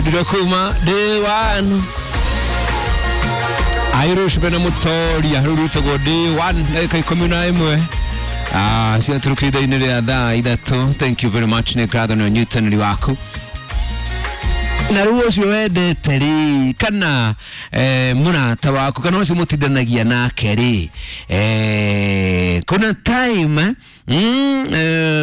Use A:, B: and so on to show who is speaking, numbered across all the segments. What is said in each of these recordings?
A: Ndĩrokuma day one Irish bena mutoria rĩu rwĩtagwo day one ndagĩka 11 ciatũrũkire ithaa-inĩ rĩa thaa 3. Thank you very much, nĩ ngatho nĩ ũnyitanĩri waku. Na rĩu ũcio wendete rĩ, kana mũrata waku, kana ũcio mũtindanagia nake rĩ, kuna time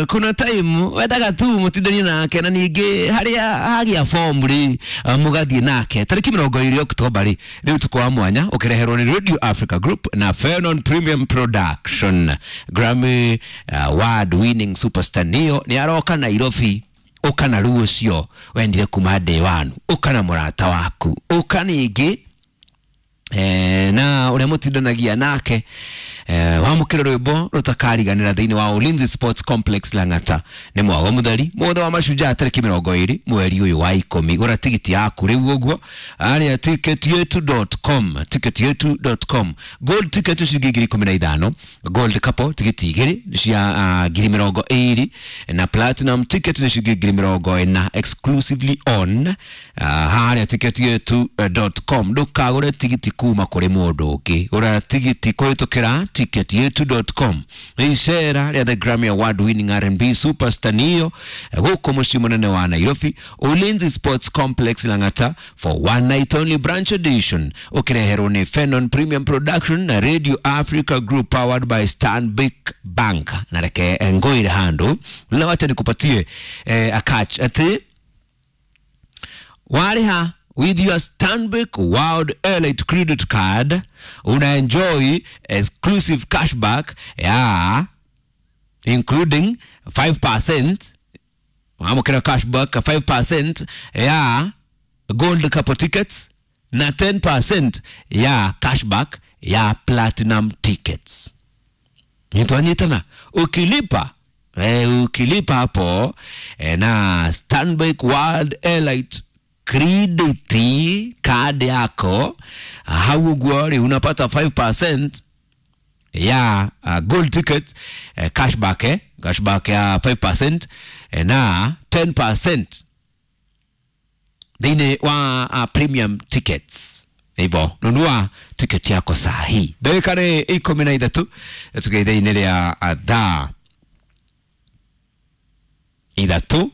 A: kuna time wendaga tu mũtindanie nake, na ningĩ harĩa hagĩa form rĩ, mũgathiĩ nake. Tarĩki 20 Oktoba rĩ, nĩ ũtukũ wa mwanya ũkĩreherwo nĩ Radio Africa Group na Fenon Premium Production. Grammy award winning superstar Neo nĩ aroka Nairobi. Ũka na rĩu ũcio wendire kuma day one, ũka na mũrata waku, ũka ningĩ na ũrĩa mũtindanagia nake, wamũkĩra rwĩmbo rũtakariganĩra thĩinĩ wa Ulinzi Sports Complex Lang'ata. Nĩ mwago mũtheri mũthĩ wa mashujaa, tarĩki 20 mweri ũyũ wa 10. Gũra tigiti yaku rĩu ũguo arĩa ticketyetu.com, ticketyetu.com. Gold ticket ciringi 15,000, gold couple tigiti 2 cia 20,000, na platinum ticket nĩ ciringi 40,000, exclusively on harĩa ticketyetu.com. Ndũkagũre tigiti kuma kũrĩ mũndũ ũngĩ, gũra tigiti kũhĩtũkĩra ticketyetu.com. Nĩ icera rĩa the Grammy Award winning R&B superstar Neo gũkũ mũciĩ mũnene wa Nairobi, Ulinzi Sports Complex Lang'ata, for one night only branch edition, ũkĩreherwo nĩ Fenon Premium Production na Radio Africa Group, powered by Stanbic Bank. Na reke ngũire handũ na wacha nikupatie a catch atĩ warĩha with your Stanbic World Elite credit card, una enjoy exclusive cashback ya including 5%. Wamũkĩra cashback 5% ya gold couple tickets na 10% ya cashback ya platinum tickets. Nitwanyitana ukilipa ukilipa hapo na Stanbic World Elite credit card yako hau ũguo rĩ, unapata 5% ya gold ticket cashback, cashback ya 5% na 10% thĩinĩ wa premium tickets. Hivyo nunua tiketi yako saa hii. Ndagĩka nĩ 13 tuge ithaa-inĩ rĩa thaa 3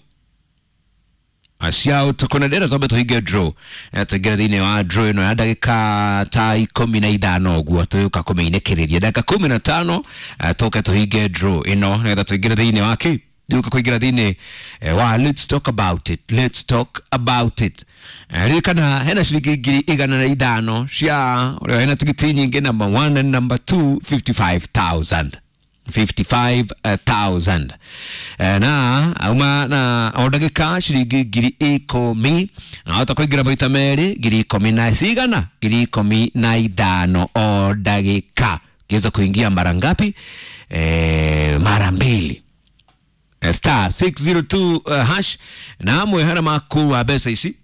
A: cia ũtukũ, na ndĩrenda twambe tũhinge draw. Tũingĩre thĩinĩ wa draw ĩno ya ndagĩka ta 15 ũguo, tũgĩũka kũmĩinĩkĩrĩria ndagĩka 15, tũke tũhinge draw ĩno nĩgetha tũingĩre thĩinĩ wa kĩ, tũke kũingĩra thĩinĩ wa let's talk about it. Let's talk about it. Ririkana hena ciringi 105,000 cia ũrĩa hena tigiti nyingĩ, number 1 and number 2, 55,000, 55,000. Na auma na o ndagĩka ciringi 10,000, na wahota kũingĩra maita merĩ, 10,000 na cigana, 15,000 o ndagĩka. Ukiweza kuingia mara ngapi? Mara mbili. Star 602 hash. Na amwe hara maku wa mbeca ici,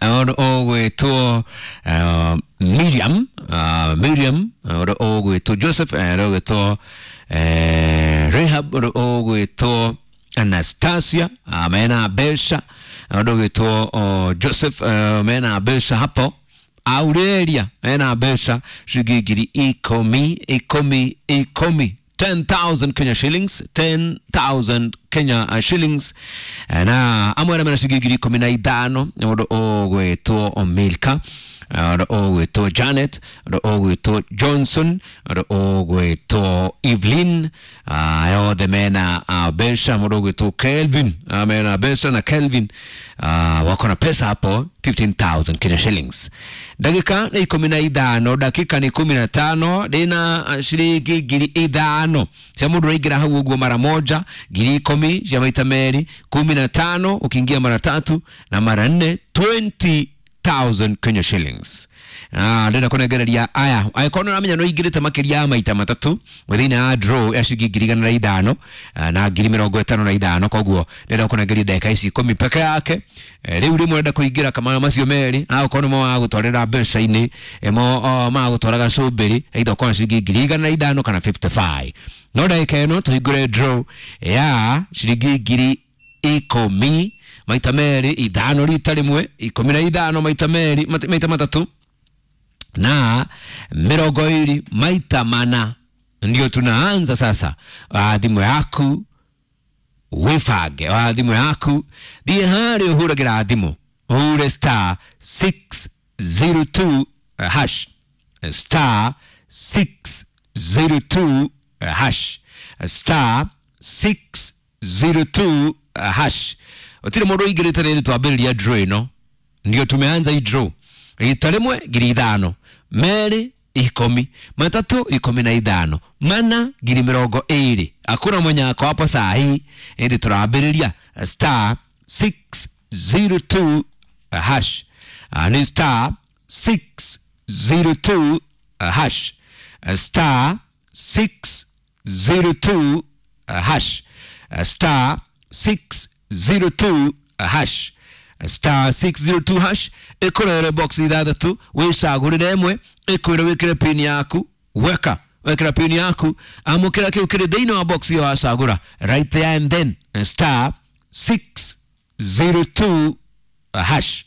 A: ũndũ ũgwĩtwo Miriam, Miriam, ũndũ ũgwĩtwo Joseph, ũndũ ũgwĩtwo Rahab, ũndũ ũgwĩtwo Anastasia, mena mbeca, ũndũ ũgwĩtwo Joseph, mena mbeca hapo, Aurelia mena mbeca ciringi 10,000, 10, 10, 10,000 Kenya shillings, 10,000 Kenya shillings. Na amwe arĩa mena ciringi 15,000, ũndũ ũgwĩtwo Milka, ũndũ ũgwĩtwo Janet, ũndũ ũgwĩtwo Johnson, ũndũ ũgwĩtwo Evelyn, othe mena mbeca. Mũndũ ũgwĩtwo Kelvin, mena mbeca, na Kelvin wako na pesa hapo, 15,000 Kenya shillings. Ndagĩka nĩ 15, ndagĩka nĩ 15, ndĩna ciringi 5,000 cia mũndũ ũraingĩra hau ũguo mara moja, 10,000 cia maita merĩ, 15 ukiingia mara tatu na mara nne, 20,000 Kenya shillings. Ndĩrenda kũnengereria aya angĩkorwo nĩ ũramenya nĩ ũingĩrĩte makĩria ya maita matatũ thĩinĩ wa draw ya ciringi 105,000 na 55,000, koguo ndĩrenda kũnengeria ndagĩka ici 10 peke yake. Rĩu rĩmwe ũrenda kũingĩra kamara macio merĩ, agũkorwo nĩmo magũtwarĩra mbeca-inĩ, mo magũtwara gacũmbĩrĩ, either ũkorwo na ciringi 105,000 kana 55. No ndagĩka ĩno tũhingũre draw ya ciringi 10,000. maita merĩ, 5 rita rĩmwe, 15 maita merĩ, maita 3 na 20 maita 4. Ndio tunaanza sasa. Thimũ yaku wibange, thimũ yaku thiĩ harĩa ũhũragĩra thimũ, ũhure star 602 hash, star 602 hash, star 602 hash. Ũtirĩ mũndũ ũingĩrĩte rĩrĩ twambĩrĩria draw ĩno, ndio tumeanza hii draw. Rita rĩmwe 5,000, 2 10, 3 15, 4 20. Hakuna mwenye ako hapo saa hii, ĩndĩ tũrambĩrĩria star 602 hash. Ni star 602 hash, star 602 hash, star 602 hash, star 602 hash. Ĩkũrere box 6 wĩcagũrĩre ĩmwe, ĩkwĩre wĩkĩre pin yaku, weka wekĩra pin yaku, amũkĩra kĩu kĩrĩ thĩinĩ wa box ĩyo wacagũra right there and then, star 602 hash.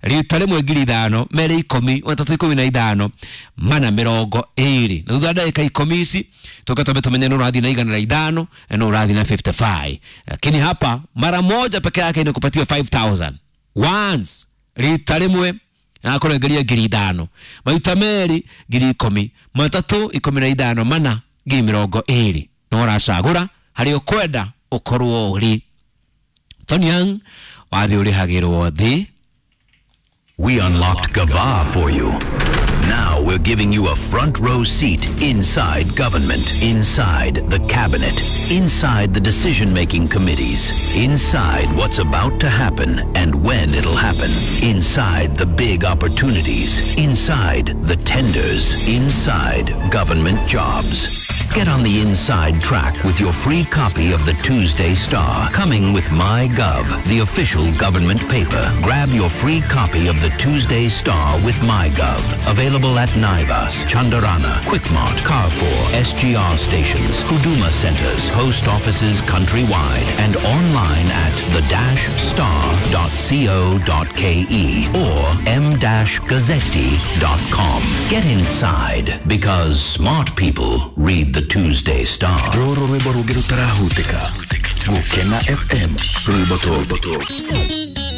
A: Rita rĩmwe 5,000, 2 10, 3 15, 4 20. Na thutha wa ndagĩka 10 ici tuka twambe tumenye nũ ũrathiĩ na 105 na nũ ũrathiĩ na 55. Lakini hapa mara moja peke yake inakupatia 5,000 once, rita rĩmwe nakũrengeria 5,000, maita 2 10,000, 3 15, 4 20. No ũracagũra harĩa ũkwenda ũkorwo ũrĩ. Tony Young wathiĩ ũrĩhagĩrwo thĩ.
B: We unlocked Gava for you. Now we're giving you a front row seat inside government, inside the cabinet, inside the decision-making committees, inside what's about to happen and when it'll happen, inside the big opportunities, inside the tenders, inside government jobs. Get on the inside track with your free copy of the Tuesday Star, coming with MyGov, the official government paper. Grab your free copy of the Tuesday Star with MyGov. Available at Naivas, Chandarana, Quickmart, Carrefour, SGR stations, Huduma centers, post offices countrywide, and online at the-star.co.ke or m-gazzetti.com. Get inside, because smart people read the Tuesday Star.
C: Rũrũ rwĩmbo rũngĩ rũtarahutĩka. Gũkena FM, rwĩmbo tũ.